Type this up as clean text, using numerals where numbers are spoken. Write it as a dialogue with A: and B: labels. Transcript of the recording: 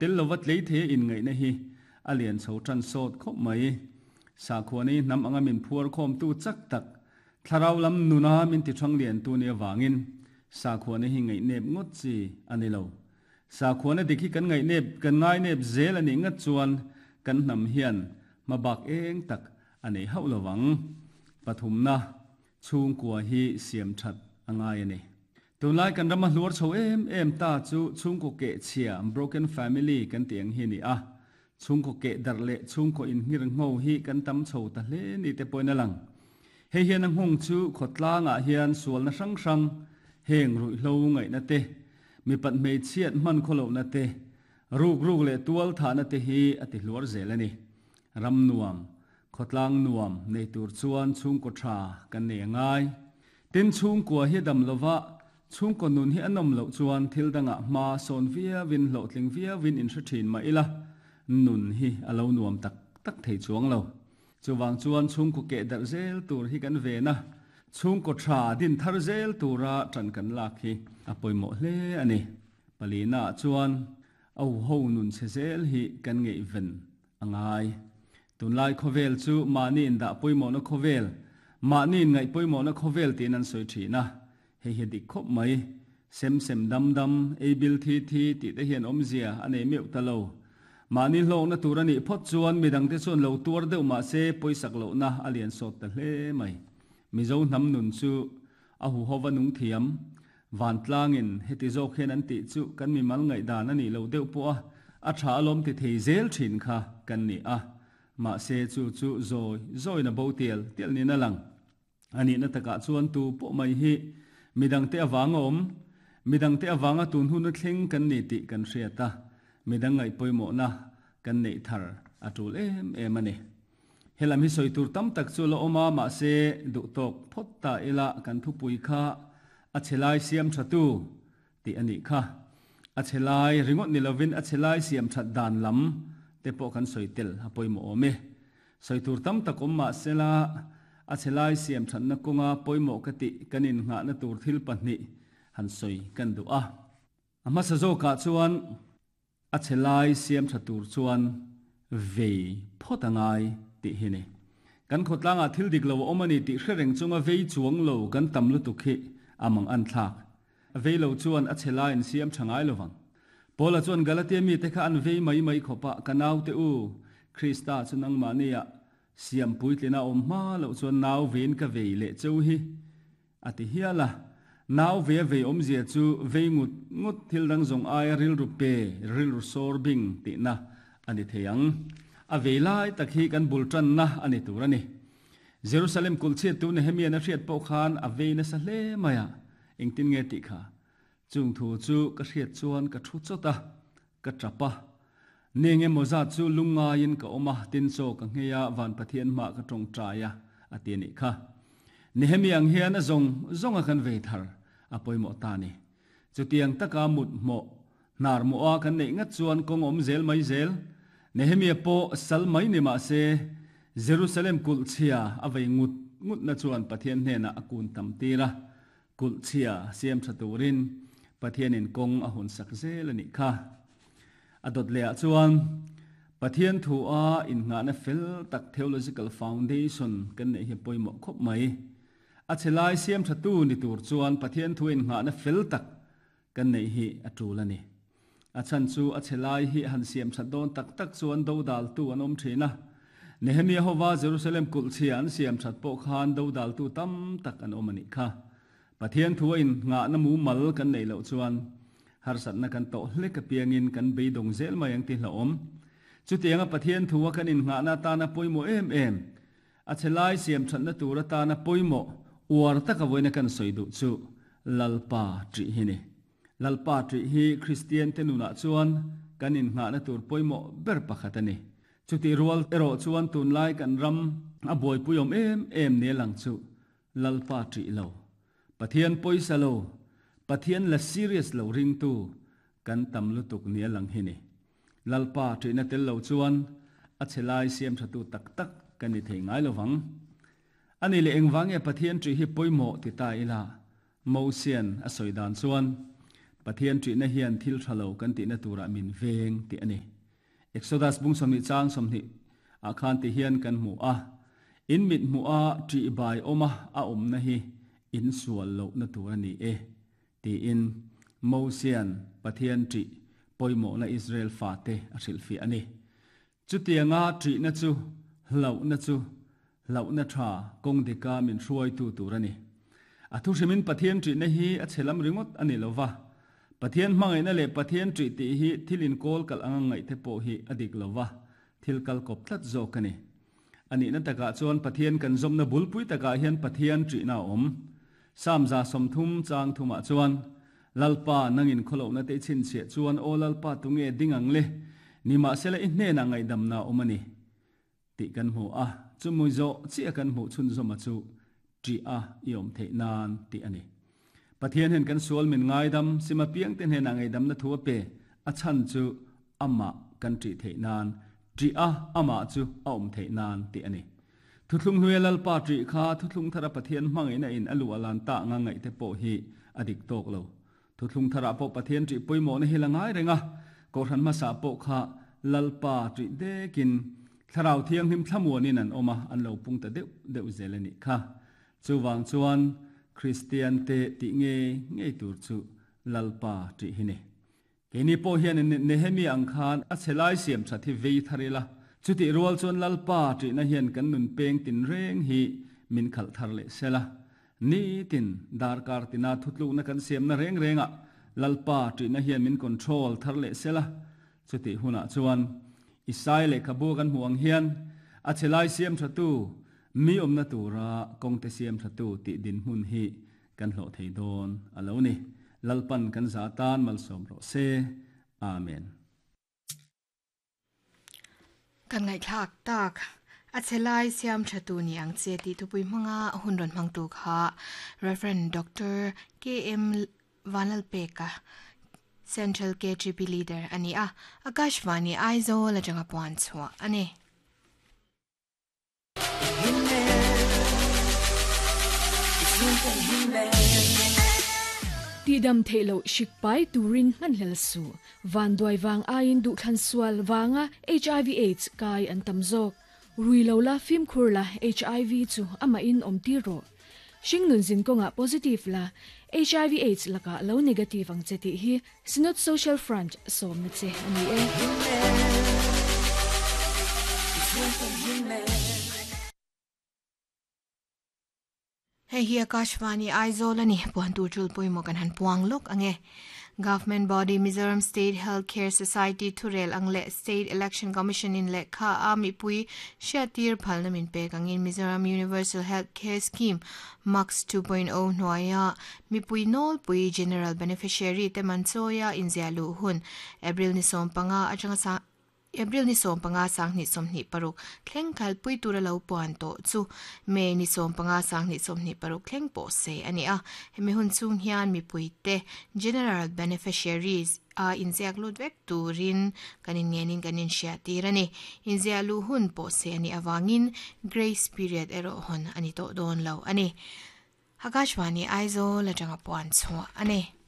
A: Tel lova tlei thei a inngaihna hi a lian chho tan sawt khawp mai. Sakhuana hi hnam anga min phuar khawmtu chak tak, thlarau lam nuna min ti thang liantu nia vangin sakhuana hi ngaihnep ngawt chi a ni lo. Sakhuana dik hi kan ngaihnep kan ngainep zel a nih ngat chuan kan hnam hian hmabak eng tak a nei hauh lo vang. Pathumna, Chhungkua hi siam that a ngai a ni. Tunlai kan rama hluar chho em em ta chu chhungkaw keh chhia, broken family, kan tih ang hi a ni a. Chhungkaw keh darh leh chhungkaw inhngir ngho hi kan tam chho ta hle ni te pawhin a lang. Hei hian a nghawng chu khawtlangah hian sualna hrang hrang, heng ruihhlo ngaihna te, mipat hmeichhiat hman khawlohna te, ruk ruk leh tual thahna te hi a ti hluar zel a ni. Ram nuam, Khawtlang nuam nei tur chuan chhungkaw tha kan nei a ngai. Tin, chhungkua hi a dam lova, chhungkaw nun hi a nawm loh chuan thil dangah hma sawn viauin hlawhtling viauin inhre thin mah ila, nun hi a lo nuam tak tak thei chuang lo. Chuvang chuan chhungkaw keh darh zel tur hi kan ven a, chhungkaw tha din thar zel tura tan kan lak hi a pawimawh hle a ni. Palina ah chuan a ho nun chhe zel hi kan ngeihven a ngai. Tunlai khawvel chu mahni indah pawimawhna khawvel, mahni inngaih pawimawhna khawvel tiin an sawi thin a, hei hi dik khawp mai. Sem sem dam dam, ei bil thi thi tih te hian awmzia a nei meuh ta lo. Mahni hlawkna tur a nih phawt chuan midangte chuan lo tuar deuh mah se pawisak lohna a lian sawt ta hle mai. Mizo hnam nun chu a huhova nung thiam, Vantlangin heti zawk hian an tih chu kan mimal ngaihdan a nih loh deuh pawh a, a tha alawm ti thei zel thin kha kan ni a. Mahse chu chu zawi zawiin a bo tial tial niin a lang. A nihna takah chuan tu pawh mai hi midangte avanga awm, midangte avanga tun hun a thleng kan ni tih kan hriat a, midang ngaih pawimawhna kan neih thar a tul em em a ni. Helam hi sawi tur tam tak chu la awm a, mahse duh tawk phawt ta ila kan thupui kha a chhe lai siam tha tu tih a nih kha. A chhe lai ringawt ni lovin a chhe lai siam that dan lam te pawh kan sawi tel a pawimawh awm e. Sawi tur tam tak awm mahsela a chhe lai siam thatna kawnga pawimawh ka tih kan innghahna tur thil pahnih han sawi kan duh a. A hmasa zawkah chuan A chhe lai siam tha tur chuan vei phawt a ngai tih hi ni. Kan khawtlangah thil dik lo a awm a ni tih hre reng chunga vei chuang lo kan tam lutuk hi a mang an thlak. Vei lo chuan a chhe lai an siam tha ngai lo vang. Paula chuan Galatia mite kha an vei mai mai khawp a, Ka naute u, Krista chu nangmahniah siam puitlin a awm hma loh chuan nau vein ka vei leh cheu hi. A ti hial a, nau ve a vei awmzia chu vei ngut ngut thil dang zawng aia rilru pe, rilru sawr bing tihna a ni thei ang. A vei lai tak hi kan bul tanna a ni tur a ni. Jerusalem kulh chhiattu Nehemia'n a hriat pawh khan a vei nasa hle mai a, engtin nge tih kha? Chung thu chu ka hriat chuan ka thu chawt a, ka tap a. Neng emaw zat chu lungngaiin ka awm a, tin chaw ka nghei a, van Pathian hmah ka tawngtai a, a ti a nih kha. Nehemi ang hian a zawng zawng a kan vei thar a pawimawh ta a ni. Chutiang taka mut hmawh, hnar mawh a kan neih ngat chuan kawng awm zel mai zel. Nehemia pawh sal mai ni mah se, Jerusalem kulh chhia a vei ngut ngutna chuan Pathian hnenah a kun tam tir a, Kulh chhia siam tha turin Pathianin kawng a hun sak zel a nih kha. A dawt leh ah chuan Pathian thu a innghahna fel tak theological foundation kan neih hi pawimawh khawp mai. A chhe lai siam tha tu ni tur chuan Pathian thu innghahna fel tak kan neih hi a tul a ni. A chhan chu a chhe lai hi han siam that dawn tak tak chuan dodaltu an awm thin a. Nehemia hova Jerusalem kulh chhia an siam that pawh khan dodaltu tam tak an awm a nih kha. Pathian thu a innghahna mumal kan neih loh chuan harsatna kan tawh hlek apiangin kan beidawng zel mai ang ti hlauhawm. Chutianga Pathian thu a kan innghahna atana pawimawh em em, A chhe lai siam thatna tur atana pawimawh uar taka vawiina kan sawi duh chu Lalpa ṭih hi ni. Lalpa ṭih hi Kristiante nunah chuan kan innghahna tur pawimawh ber pakhat a ni. Chutih rual erawh chuan tunlai kan ram a buaipui awm em em nia lang chu Lalpa ṭih lo, Pathian pawisa lo, Pathian la serious lo ringtu kan tam lutuk nia lang hi ni. Lalpa ṭihna tel lo chuan a chhe lai siam ṭhatu tak tak kan ni thei ngai lo vang. A nih leh engvang nge Pathian ṭih hi pawimawh ti ta ila? Mosian a sawi dan chuan, Pathian ṭihna hian thil ṭha lo kan tihna turah min veng tih a ni. Exodus bung 20 chang 20 ah khan ti hian kan hmu a, In mit hmuh a ṭihbai awma a awmna hi in sual lohna tur a ni e, tiin Mosia'n Pathian ṭih pawimawhna Israel fate a hrilhfiah a ni. Chutianga ṭihna chu hlauhna chu hlauhna ṭha kawng dika min hruaitu tur a ni. A thuhrimin Pathian ṭihna hi a chhe lam ringawt a ni lo va, Pathian hmangaihna leh Pathian ṭih tih hi thil inkawl kalh anga ngaihte pawh hi a dik lo va, thil kal kawp tlat zawk a ni. A nihna takah chuan Pathian kan zawmna bulpui takah hian Pathian ṭihna a awm. Psalm 30 chang thumah chuan, Lalpa, nangin khawlohna te i chhinchhiah chuan, Aw Lalpa, tunge ding ang le? Nimahsela i hnenah ngaihdamna a awm a ni, tih kan hmu a. Chumi zawh chiah kan hmuh chhunzawma chu ṭih a i awm theih nan tih a ni. Pathian hian kan sual min ngaidam, sima piangte hnenah ngaihdamna thu a pe, a chhan chu amah kan ṭih theih nan, ṭih a amah chu a awm theih nan tih a ni. Thuthlung hnuaia Lalpa ṭih kha Thuthlung thara Pathian hmangaihna in a luh a lan tak anga ngaihte pawh hi a dik tawk lo. Thuthlung tharah pawh Pathian ṭih pawimawhna hi la ngai reng a, Kohhran hmasa pawh kha Lalpa ṭih dekin Thlarau Thianghlim thlamuanin an awm a, an lo pung ta deuh deuh zel a nih kha. Chuvang chuan Kristiante tih ngei ngei tur chu Lalpa ṭih hi ni. Keini pawh hian Nehemia ang khan a chhe lai siam that hi vei thar ila, chutih rual chuan Lalpa ṭihna hian kan nun peng tinreng hi min khalh thar leh sel a. Nitin darkar tina thutlukna kan siamna reng rengah Lalpa ṭihna hian min control thar leh sel a. Chutih hunah chuan Isai lehkhabu kan hmuh ang hian a chhe lai siam thatu, mi awmna tura kawngte siam thatu tih dinhmun hi Kan hlawh thei dawn a lo ni. Lalpan kan za tan malsawm rawh se. Amen.
B: Kan ngaihthlak tak. A chhe lai siam tha tu ni ang che tih thupui hmanga hun rawn hmangtu kha Rev. Doctor KM Vanlalpeka, Central KGP Leader a ni a, Akashvani Aizawl atanga puan chhuah a ni.
C: Tihdam theih loh hrik pai turin hmanhlel suh. Vanduai vang aiin duhthlan sual vanga hiv aids kai an tam zawk. Rui lo la fimkhur la hiv chu amahin awm tir rawh. Hringnun zin kawngah positive la hiv aids lakah lo negative ang che tih hi Synod Social Front sawmna che a ni e.
B: Hei hi Akashvani Aizawl a ni, puan tur tul pawimawh kan han puang lawk ang e. Government body Mizoram State Health Care Society thurel ang leh State Election Commission in lehkha a mipui hriattir phalna min pek angin Mizoram Universal Health Care Scheme MUCS 2.0 hnuaia Mipui nawlpui General Beneficiary te man chawia inziah luh hun April ni 15 atanga sang April ni 15 sanghnih 26 thleng kalpui tura lo puan tawh chu May ni 15 sanghnih 26 thleng pawh se a ni a. Hemi hun chhung hian mipuite General Beneficiaries a inziak lut vek turin kan inngenin kan inhriattir a ni. Inziah luh hun pawh se a nih avangin Grace Period erawh hawn a ni tawh dawn lo a ni. Akashvani Aizawl atanga puan chhuah a ni.